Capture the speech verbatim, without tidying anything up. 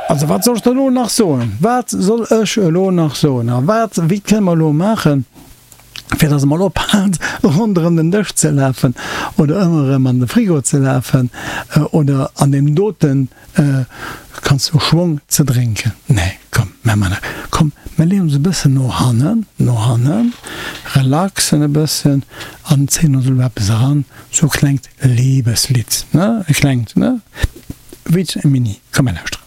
Also wat soll ech der elo nach soen? Wat soll ech elo nach soen? A wat, wéi kënne mer elo maachen, fir dass e mol ophält ronderëm den Dësch ze lafen oder ëmmer erëm an de Frigo ze lafen oder an deem doten, kanns du, Schwong ze drénken? Nee, komm, mä mer net. Komm, mer leeën ons e bëssen no hannen, no hannen, relaxen e bëssen an zéien ons elo eppes eran, sou e klengt Liebeslidd, ne, e klengt, ne, wéi e Mini. Komm, mer lauschteren.